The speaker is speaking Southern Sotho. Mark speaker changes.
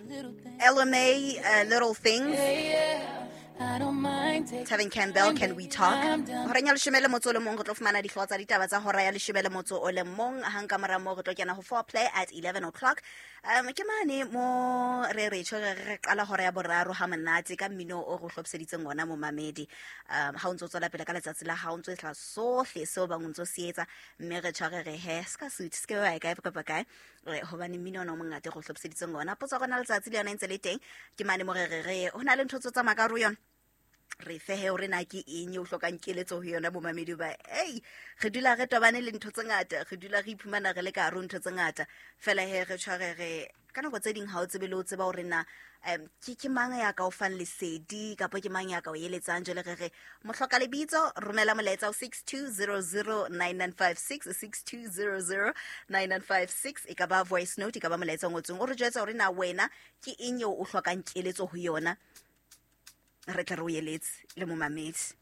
Speaker 1: LMA, Little Things. Tevin Campbell, Can We Talk? Horeng ya leshome le motso o le mong re tlo fumana dihlooho tsa ditaba tsa hora ya leshome le motso o le mong. Hang ka mora moo re tlo kena ho Foreplay at 11 o'clock. Ke mane mo re re tjho re qala hora ya boraro ha monate ka mmino o re hlophiseditseng ona momamedi. Ha o ntso tswela pele ka letsatsi la hao, o ntso etla sohle seo bang o ntso se etsa, mme re tjho re re he se ka suit se ke ba kae kapa kae, hobane mmino ona o mongata re o hlophiseditseng ona. Potso ya rona letsatsi le yona e ntse le teng, ke mane mo re re re ho na le ntho tse tsamaya ka hare ho yona, re fehe hore na ke eng e o hlokang keletso ho yona momamedi. Ba ei, re dula re tobane le ntho tse ngata, re dula re iphumana re le ka hare ho ntho tse ngata fela he re tshware re ka nako tse ding ha o tsebe le o tseba hore na ke mang ya ka o fang lesedi kapa ke mang ya ka o eletsang. Jwale re re mohloka lebitso, romela molaetsa ho 62009956, 62009956, e ka ba voice note, e ka ba molaetsa o ngotsweng, o re jwetsa hore na wena ke eng eo o hlokang keletso ho yona, re tle re o eletse le momamedi.